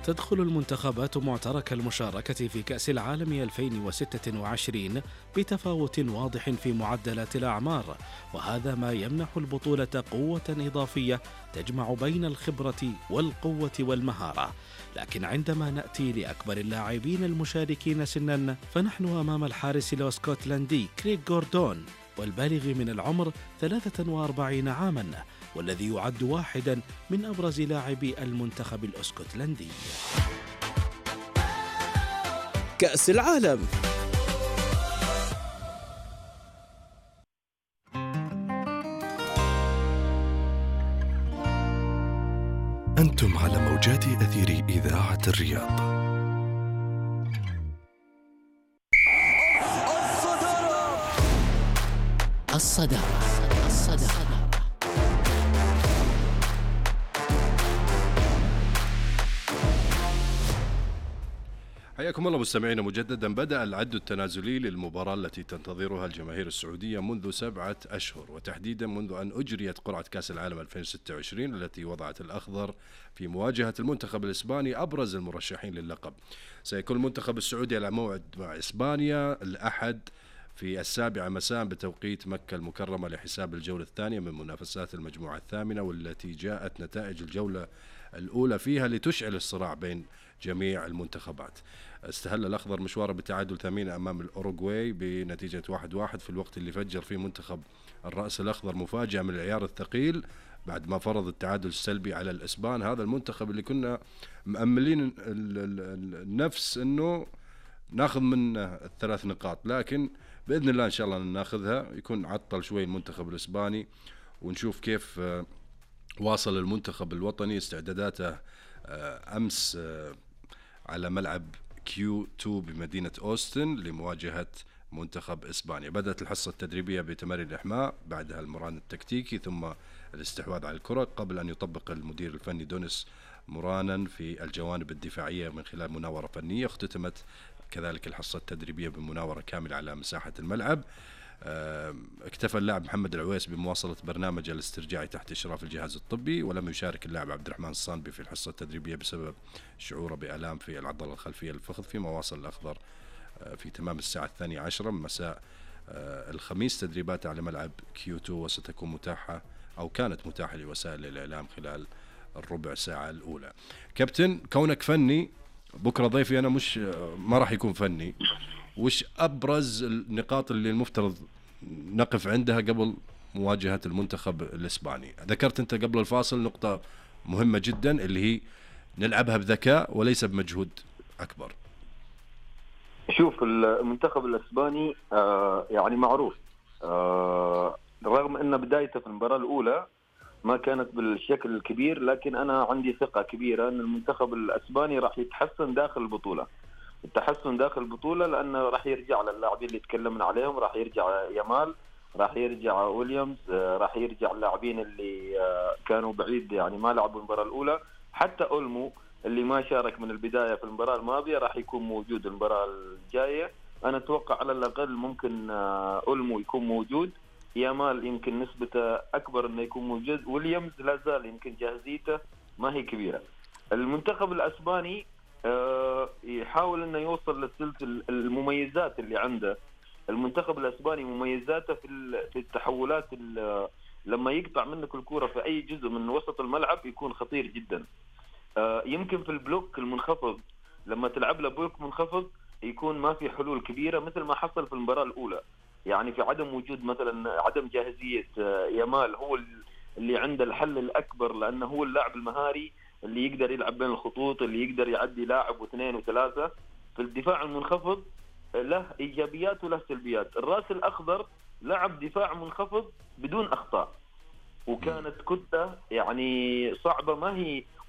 تدخل المنتخبات معترك المشاركة في كأس العالم 2026 بتفاوت واضح في معدلات الأعمار، وهذا ما يمنح البطولة قوة إضافية تجمع بين الخبرة والقوة والمهارة. لكن عندما نأتي لأكبر اللاعبين المشاركين سناً، فنحن أمام الحارس الاسكتلندي كريغ غوردون، والبالغ من العمر 43 عاماً، والذي يعد واحداً من أبرز لاعبي المنتخب الاسكتلندي. كأس العالم. أنتم على موجات أثير إذاعة الرياض. الصدارة. حياكم الله مستمعينا مجددا. بدأ العد التنازلي للمباراة التي تنتظرها الجماهير السعودية منذ 7 أشهر، وتحديدا منذ أن أجريت قرعة كأس العالم 2026 التي وضعت الأخضر في مواجهة المنتخب الإسباني أبرز المرشحين للقب. سيكون المنتخب السعودي على موعد مع إسبانيا الأحد في 7 مساء بتوقيت مكة المكرمة لحساب الجولة الثانية من منافسات المجموعة الثامنة، والتي جاءت نتائج الجولة الأولى فيها لتشعل الصراع بين جميع المنتخبات. استهل الأخضر مشواره بالتعادل ثمين أمام الأوروغواي بنتيجة 1-1 في الوقت اللي فجر فيه منتخب الرأس الأخضر مفاجأة من العيار الثقيل بعد ما فرض التعادل السلبي على الإسبان. هذا المنتخب اللي كنا مأملين النفس أنه ناخذ من 3 نقاط، لكن بإذن الله إن شاء الله ناخذها. يكون عطل شوي المنتخب الإسباني، ونشوف كيف واصل المنتخب الوطني استعداداته أمس على ملعب Q2 بمدينة أوستن لمواجهة منتخب إسبانيا. بدأت الحصة التدريبية بتمارين الإحماء، بعدها المران التكتيكي، ثم الاستحواذ على الكرة، قبل أن يطبق المدير الفني دونيس مرانا في الجوانب الدفاعية من خلال مناورة فنية. اختتمت كذلك الحصة التدريبية بمناورة كاملة على مساحة الملعب. اكتفى اللاعب محمد العويس بمواصلة برنامج الاسترجاعي تحت إشراف الجهاز الطبي، ولم يشارك اللاعب عبد الرحمن الصانبي في الحصة التدريبية بسبب شعوره بآلام في العضلة الخلفية للفخذ. فيما واصل الأخضر في تمام الساعة 12 مساء الخميس تدريبات على ملعب Q2، وستكون متاحة أو كانت متاحة لوسائل الإعلام خلال الربع ساعة الأولى. كابتن، كونك فني، بكرة ضيفي أنا ما راح يكون فني، وش أبرز النقاط اللي المفترض نقف عندها قبل مواجهة المنتخب الإسباني؟ ذكرت أنت قبل الفاصل نقطة مهمة جدا اللي هي نلعبها بذكاء وليس بمجهود أكبر. شوف، المنتخب الإسباني يعني معروف، رغم أن بدايته في المباراة الأولى ما كانت بالشكل الكبير، لكن أنا عندي ثقة كبيرة أن المنتخب الإسباني راح يتحسن داخل البطولة. التحسن داخل البطولة لأنه راح يرجع للاعبين اللي تكلمنا عليهم، راح يرجع يامال، راح يرجع ويليامز، راح يرجع اللاعبين اللي كانوا بعيد يعني ما لعبوا المباراة الأولى. حتى أولمو اللي ما شارك من البداية في المباراة الماضية راح يكون موجود المباراة الجاية. أنا أتوقع على الأقل ممكن أولمو يكون موجود، يامال يمكن نسبته أكبر إنه يكون موجود، ويليامز لا زال يمكن جاهزيته ما هي كبيرة. المنتخب الأسباني يحاول انه يوصل للسلسلة المميزات اللي عنده. المنتخب الاسباني مميزاته في التحولات، لما يقطع منك الكرة في اي جزء من وسط الملعب يكون خطير جدا. يمكن في البلوك المنخفض لما تلعب له بلوك منخفض يكون ما في حلول كبيرة مثل ما حصل في المباراة الاولى. يعني في عدم وجود مثلا عدم جاهزية يامال، هو اللي عنده الحل الاكبر، لانه هو اللاعب المهاري اللي يقدر يلعب بين الخطوط، اللي يقدر يعدي لاعب واثنين وثلاثة. في الدفاع المنخفض له إيجابيات وله سلبيات. الرأس الأخضر لعب دفاع منخفض بدون أخطاء، وكانت كتلة يعني صعبة.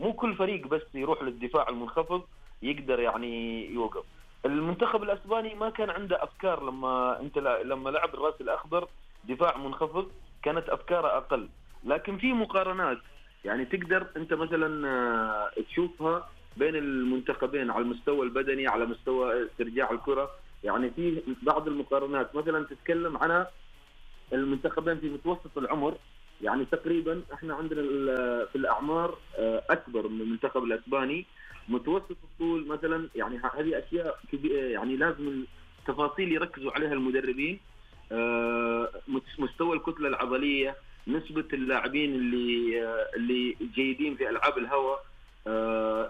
مو كل فريق بس يروح للدفاع المنخفض يقدر يعني يوقف. المنتخب الأسباني ما كان عنده أفكار لما لعب الرأس الأخضر دفاع منخفض كانت أفكاره أقل. لكن في مقارنات يعني تقدر أنت مثلا تشوفها بين المنتخبين على المستوى البدني، على مستوى استرجاع الكرة. يعني في بعض المقارنات مثلا تتكلم عن المنتخبين في متوسط العمر، يعني تقريبا احنا عندنا في الاعمار اكبر من المنتخب الاسباني. متوسط الطول مثلا، يعني هذه اشياء يعني لازم تفاصيل يركزوا عليها المدربين. مستوى الكتله العضليه، نسبه اللاعبين اللي جيدين في العاب الهواء.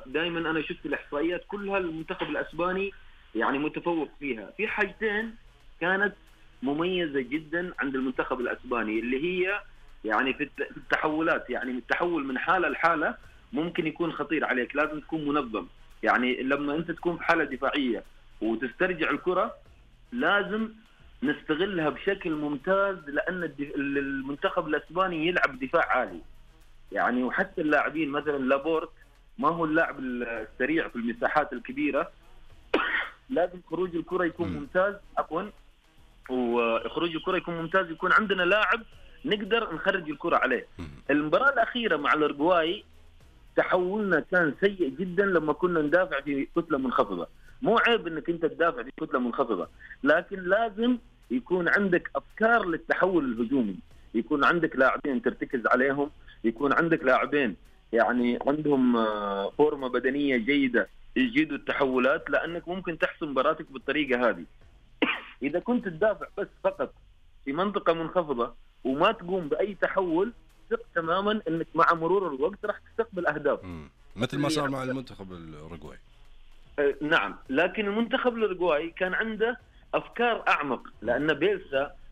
دائما انا شفت الاحصائيات كلها المنتخب الاسباني يعني متفوق فيها. في حاجتين كانت مميزه جدا عند المنتخب الاسباني، اللي هي يعني في التحولات. يعني التحول من حاله لحاله ممكن يكون خطير عليك، لازم تكون منظم. يعني لما انت تكون في حاله دفاعيه وتسترجع الكره لازم نستغلها بشكل ممتاز، لان المنتخب الاسباني يلعب دفاع عالي يعني. وحتى اللاعبين مثلا لابورت ما هو اللاعب السريع في المساحات الكبيره، لازم خروج الكره يكون ممتاز. وخروج الكره يكون ممتاز، يكون عندنا لاعب نقدر نخرج الكره عليه. المباراه الاخيره مع الأورجواي تحولنا كان سيء جدا لما كنا ندافع في كتله منخفضه. مو عيب انك انت تدافع في كتله منخفضه، لكن لازم يكون عندك افكار للتحول الهجومي، يكون عندك لاعبين ترتكز عليهم، يكون عندك لاعبين يعني عندهم فورمه بدنيه جيده يجيدوا التحولات، لانك ممكن تحسم مباراتك بالطريقه هذه. اذا كنت تدافع بس فقط في منطقه منخفضه وما تقوم باي تحول، ثق تماما انك مع مرور الوقت راح تستقبل اهداف. مثل ما صار مع المنتخب الأوروغواي. نعم، لكن المنتخب الأوروغواي كان عنده افكار اعمق، لان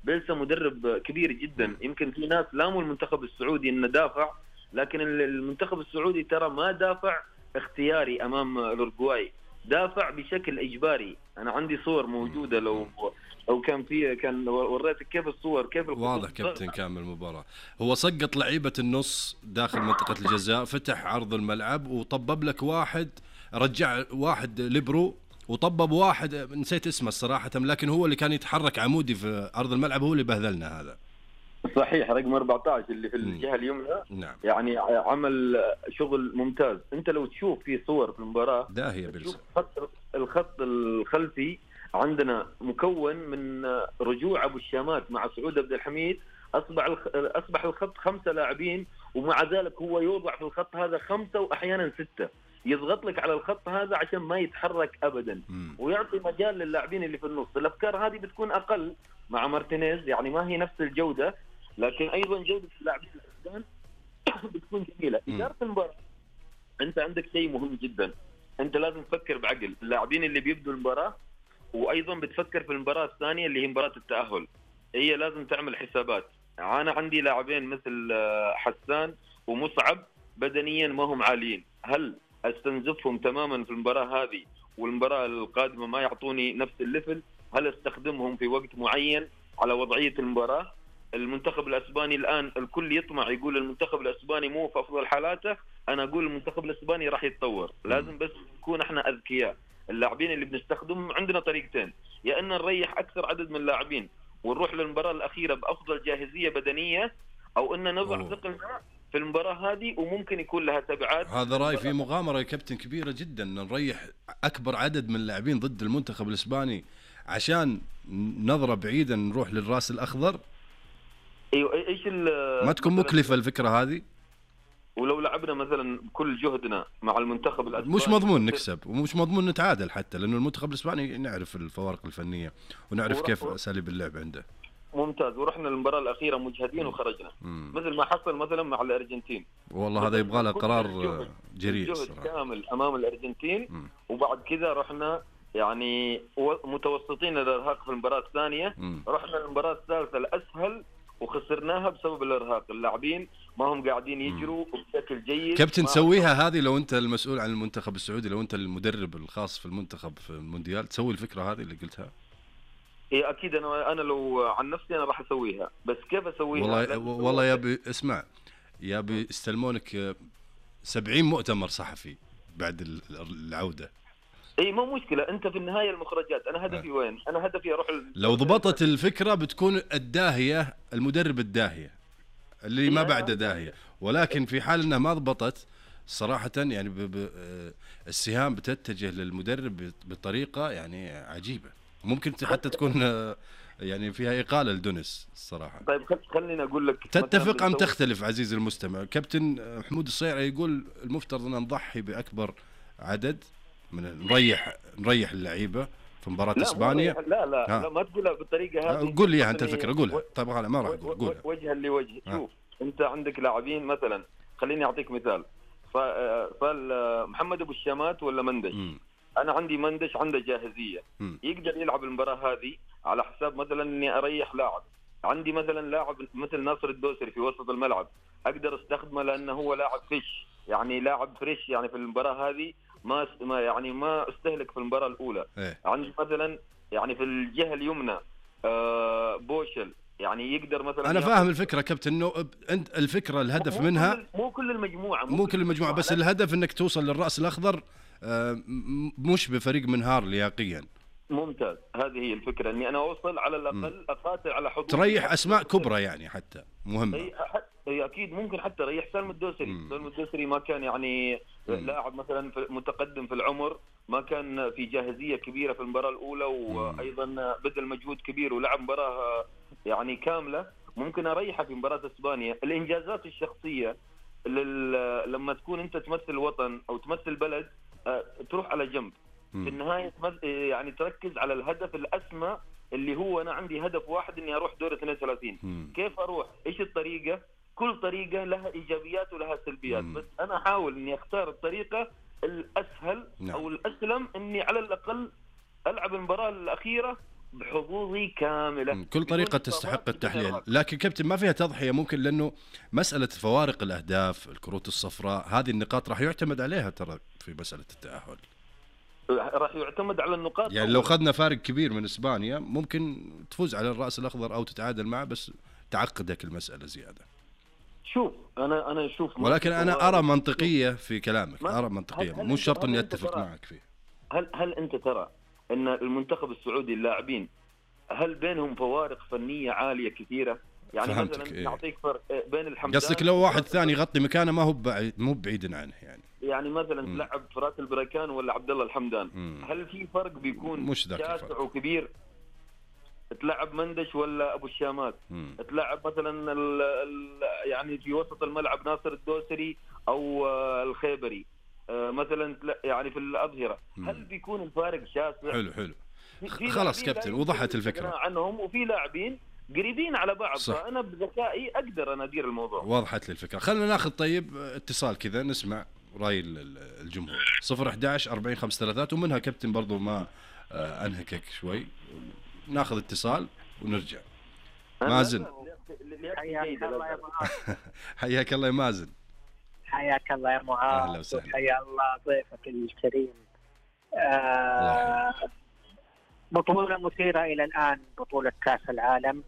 بيلسا مدرب كبير جدا. يمكن في ناس لاموا المنتخب السعودي انه دافع، لكن المنتخب السعودي ترى ما دافع اختياري امام الأوروغواي، دافع بشكل اجباري. انا عندي صور موجوده، لو كان وريتك كيف الصور، كيف واضح كابتن كامل المباراه. هو سقط لعيبه النص داخل منطقه الجزاء، فتح عرض الملعب وطبب لك واحد، رجع واحد ليبرو وطبب واحد نسيت اسمه الصراحه، لكن هو اللي كان يتحرك عمودي في ارض الملعب، هو اللي بهذلنا. هذا صحيح، رقم 14 اللي في الجهه اليمنى. نعم. يعني عمل شغل ممتاز. انت لو تشوف في صور في المباراه داهيه بلسه، الخط الخلفي عندنا مكون من رجوع ابو الشامات مع سعود عبد الحميد. اصبح الخط 5 لاعبين، ومع ذلك هو يوضع في الخط هذا 5 واحيانا 6، يضغط لك على الخط هذا عشان ما يتحرك ابدا، ويعطي مجال للاعبين اللي في النص. الافكار هذه بتكون اقل مع مارتينيز، يعني ما هي نفس الجوده، لكن ايضا جوده اللاعبين الافغان بتكون جميله. اداره المباراه، انت عندك شيء مهم جدا، انت لازم تفكر بعقل. اللاعبين اللي بيبدوا المباراه، وايضا بتفكر في المباراه الثانيه اللي هي مباراه التاهل، هي لازم تعمل حسابات. انا عندي لاعبين مثل حسان ومصعب بدنيا ما هم عاليين، هل استنزفهم تماما في المباراه هذه والمباراه القادمه ما يعطوني نفس الليفل؟ هل استخدمهم في وقت معين على وضعيه المباراه؟ المنتخب الاسباني الان الكل يطمع يقول المنتخب الاسباني مو في افضل حالاته، انا اقول المنتخب الاسباني راح يتطور. لازم بس نكون احنا اذكياء. اللاعبين اللي بنستخدمهم عندنا طريقتين، يا ان نريح اكثر عدد من اللاعبين ونروح للمباراه الاخيره بافضل جاهزيه بدنيه، او ان نضع ثقلنا في المباراه هذه وممكن يكون لها تبعات. هذا راي في مغامره يا كابتن كبيره جدا، نريح اكبر عدد من اللاعبين ضد المنتخب الاسباني عشان نظره بعيدا نروح للراس الاخضر. ايوه، ايش ما تكون مكلفه الفكره هذه؟ ولو لعبنا مثلا بكل جهدنا مع المنتخب الاسباني مش مضمون نكسب، ومش مضمون نتعادل حتى، لانه المنتخب الاسباني نعرف الفوارق الفنيه ونعرف كيف اساليب اللعب عنده. ممتاز. ورحنا المباراه الاخيره مجهدين وخرجنا مثل ما حصل مثلا مع الارجنتين. والله هذا يبغى له قرار جريء جهد كامل امام الارجنتين. وبعد كذا رحنا يعني متوسطين الارهاق في المباراه الثانيه، رحنا المباراه الثالثه الاسهل وخسرناها بسبب الارهاق. اللاعبين ما هم قاعدين يجروا بشكل جيد. كابتن تسويها هذه لو انت المسؤول عن المنتخب السعودي، لو انت المدرب الخاص في المنتخب في المونديال، تسوي الفكره هذه اللي قلتها؟ ايه اكيد. انا لو عن نفسي انا راح اسويها، بس كيف اسويها؟ والله يا ابي اسمع، يا ابي استلمونك 70 مؤتمر صحفي بعد العوده. اي مو مشكله، انت في النهايه المخرجات. انا هدفي وين؟ انا هدفي اروح لو ضبطت الفكره بتكون الداهيه، المدرب الداهيه اللي ما بعده داهيه. ولكن في حال انها ما ضبطت صراحه يعني السهام بتتجه للمدرب بطريقه يعني عجيبه. ممكن حتى تكون يعني فيها إقالة لدونس الصراحة. طيب خليني أقول لك، تتفق أم تختلف عزيزي المستمع؟ كابتن حمود الصيرعي يقول المفترض أن نضحي بأكبر عدد من نريح اللعيبة في مباراة إسبانيا. لا ما تقولها بالطريقة هذه. قول لي أنت الفكرة، قولها. طيب أنا ما راح أقول وجها لوجه. شوف أنت عندك لاعبين مثلا، خليني أعطيك مثال. محمد أبو الشامات ولا مندش. أنا عندي مندش عنده جاهزية، يقدر يلعب المباراة هذه على حساب مثلا إني أريح لاعب. عندي مثلا لاعب مثل ناصر الدوسري في وسط الملعب، أقدر استخدمه لأنه هو لاعب فيش، يعني لاعب فريش يعني في المباراة هذه ما استهلك في المباراة الأولى. عندي مثلا يعني في الجهة اليمنى بوشل، يعني يقدر مثلا. أنا فاهم الفكرة كابتن، إنه أنت الفكرة الهدف منها مو كل المجموعة بس الهدف إنك توصل للرأس الأخضر، مش بفريق منهار لياقيا. ممتاز، هذه هي الفكرة، إني أنا أوصل على الأقل أقاتل على حدود، تريح أسماء كبرى يعني حتى مهمة. أي أكيد ممكن حتى ريح سالم الدوسري ما كان يعني لاعب مثلا متقدم في العمر، ما كان في جاهزية كبيرة في المباراة الأولى، وأيضا بذل مجهود كبير ولعب مباراة يعني كاملة. ممكن أريحه في مباراة إسبانيا. الإنجازات الشخصية لما تكون أنت تمثل وطن أو تمثل بلد تروح على جنب. في النهاية يعني تركز على الهدف الأسمى اللي هو أنا عندي هدف واحد إني أروح دور 32. كيف أروح؟ إيش الطريقة؟ كل طريقة لها إيجابيات ولها سلبيات، بس أنا أحاول إني أختار الطريقة الأسهل أو الأسلم، إني على الأقل ألعب المباراة الأخيرة بحظوظي كاملة. كل طريقة تستحق التحليل، لكن كابتن ما فيها تضحية ممكن، لأنه مسألة فوارق الأهداف، الكروت الصفراء، هذه النقاط راح يعتمد عليها ترى في مسألة التأهل. راح يعتمد على النقاط، يعني لو خذنا فارق كبير من إسبانيا ممكن تفوز على الرأس الأخضر أو تتعادل معه، بس تعقدك المسألة زيادة. شوف أنا أشوف، ولكن أنا أرى منطقية في كلامك، أرى منطقية، مو شرط إني أتفق معك فيه. هل أنت ترى أن المنتخب السعودي اللاعبين هل بينهم فوارق فنية عالية كثيرة؟ يعني مثلا نعطيك فرق بين الحمدان، قصدك لو واحد ثاني يغطي مكانه ما هو مو بعيد عنه يعني مثلا تلعب فراس البركان ولا عبد الله الحمدان، هل في فرق بيكون شاسع وكبير؟ تلعب مندش ولا ابو الشامات، تلعب مثلا يعني في وسط الملعب ناصر الدوسري او الخيبري مثلا، يعني في الأظهرة، هل بيكون الفارق شاسع؟ حلو خلاص كابتن، وضحت الفكرة عنهم، وفي لاعبين قريبين على بعض، فأنا بذكائي أقدر أنا أدير الموضوع. وضحت لي الفكرة. خلينا ناخذ طيب اتصال كذا نسمع رأي الجمهور. 011-40-533، ومنها كابتن برضو ما أنهكك شوي، ناخذ اتصال ونرجع. مازن، حياك الله يا مازن. حياك الله يا معاذ، وحيا الله ضيفك الكريم. بطولة مثيرة إلى الآن، بطولة كأس العالم،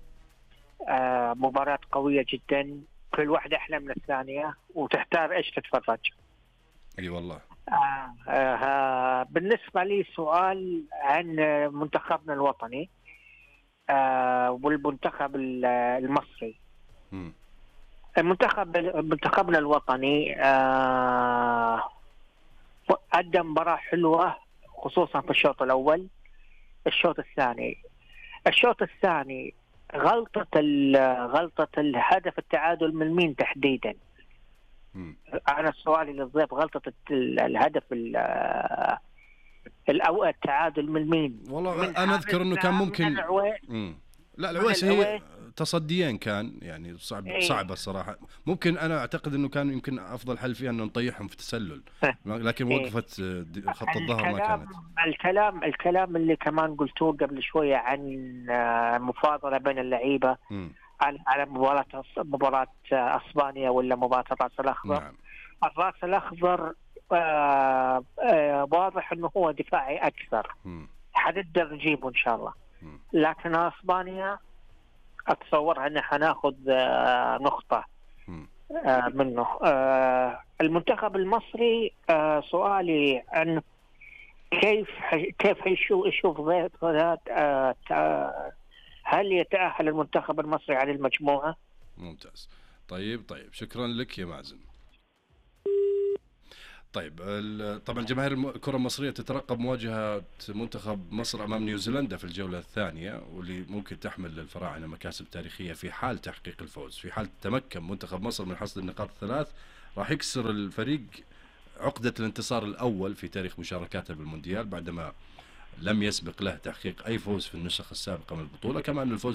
مباراة قوية جدا، كل واحدة أحلى من الثانية وتحتار إيش تتفرج. أي والله. بالنسبة لي سؤال عن منتخبنا الوطني والمنتخب المصري. منتخبنا الوطني قدم مباراة حلوة خصوصا في الشوط الأول. الشوط الثاني غلطة الهدف التعادل من مين تحديدا؟ أنا سؤالي للضيف، غلطة الهدف الأول التعادل من مين؟ والله أنا أذكر إنه كان ممكن لا العويس هي تصديين كان يعني صعبة الصراحة. ممكن أنا أعتقد إنه كان يمكن أفضل حل فيها إنه نطيحهم في تسلل، لكن وقفت خط الظهر ما كانت. الكلام اللي كمان قلتوه قبل شوية عن مفاضلة بين اللعيبة على مباراة اسبانيا ولا مباراة الراس الاخضر. نعم. الراس الاخضر واضح انه هو دفاعي اكثر، حنقدر نجيبه ان شاء الله. لكن اسبانيا اتصور ان حناخذ نقطة منه. المنتخب المصري سؤالي عن كيف يشوف هل يتأهل المنتخب المصري على المجموعة؟ ممتاز. طيب شكرا لك يا مازن. طيب طبعا جماهير الكرة المصرية تترقب مواجهة منتخب مصر أمام نيوزيلندا في الجولة الثانية، واللي ممكن تحمل للفراعنة مكاسب تاريخية في حال تحقيق الفوز. في حال تمكن منتخب مصر من حصد النقاط الثلاث راح يكسر الفريق عقدة الانتصار الأول في تاريخ مشاركاته بالمونديال، بعدما لم يسبق له تحقيق أي فوز في النسخ السابقة من البطولة. كما أن الفوز